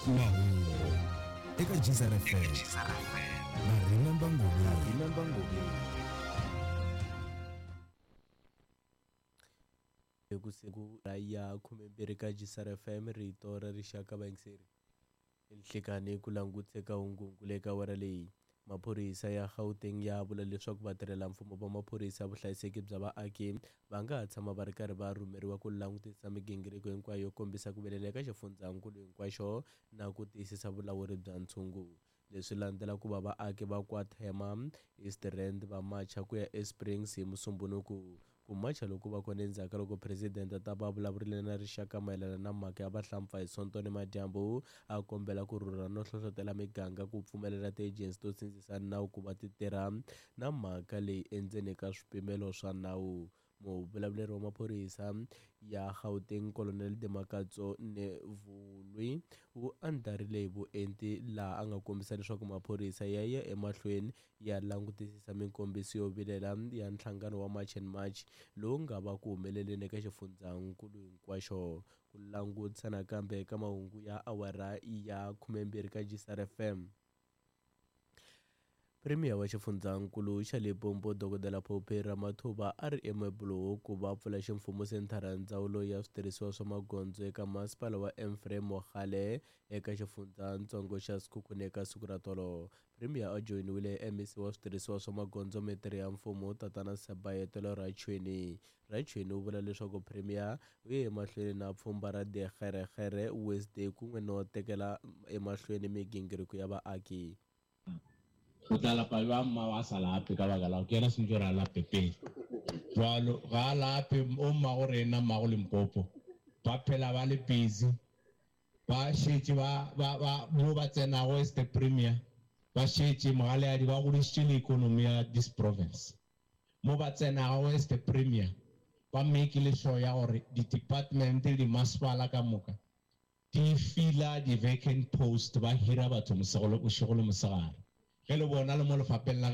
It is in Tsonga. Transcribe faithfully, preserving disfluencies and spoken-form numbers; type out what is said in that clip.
Mahungu eka Geyser F M na Remember Ngobeni. Ku ya khumembirhi ka Geyser F M, rito ra rixaka. Vayingiseri, nhlikani ku languteka hungu eka awara leyi. Maphorisa ya Gauteng ya vula leswaku vatirhelamfumo va maphorisa ya vuhlayiseki bya vaaki va nga ha tshama va ri karhi va rhumeriwa ku langutisa migingiriko hinkwayo yo kombisa ku vilela eka xifundzankulu hinkwaxo na ku tiyisisa vulawuri bya ntshungu. Leswi landzela ku va vaaki va KwaThema, East Rand va macha ku ya eSprings hi Musumbunuku. Ku macha loku va kona endzhaku ka loko presidente ta va vulavurile na rixaka mayelana na mhaka ya vahlampfa hi Sonto nimadyambu, a kombela ku rhurha no hlohlotela miganga ku pfumelela tiejensi to sindzisa nawu ku va ti tirha na mhaka leyi endzeni ka swipimelo swa nawu. Muvulavuleri wa maphorisa ya Gauteng, Colonel Dimakatso Nevhuhulwi, u andlarile hi vuenti laha a nga kombisa leswaku maphorisa ya ya emahlweni ya langutisisa minkombiso yo vilela ya nhlangano wa March and March lowu nga va ku humeleleni eka xifundzankulu hinkwaxo. Ku langutisa nakambe eka mahungu ya awara ya khumembirhi ka Geyser F M. Premier wa xifundzankulu xa Limpopo, Dokodela Phophi Ramathuba, a ri eMabuloho ku va pfula ximfumo senthara ya ndzawulo ya switirhisiwa swa magondzo eka masipala wa Ephraim Mogale eka xifundzatsongo xa Sekhukhune eka siku ra tolo. Premier a joyiniwile hi M E C wa switirhisiwa swa magondzo, Mitirho ya Mfumo, Tatana Sebaetelo Rachoene. Rachoene u vula leswaku Premier u ye emahlweni na pfhumba ra Dikgerekgere Wednesday kun'we no tekela emahlweni migingiriko ya vaaki. O tla lapa bjang mma wa sa lape? Ka baka la gore ke yena sentse gore a lape pele jalo ga a lape. O mmago rena, mmago Limpopo, ba phela ba le busy, ba šetše ba ba ba mo ba tsenago as the premier, ba šetše mogaleadi ba godišitše le economy ya this province. Mo ba tsenago as the premier, ba make sure ya gore di-department le dimasepala ka moka di fila di-vacant post, ba hira batho mosego le bošego le mosegare. Ge le bona le mo lefapheng la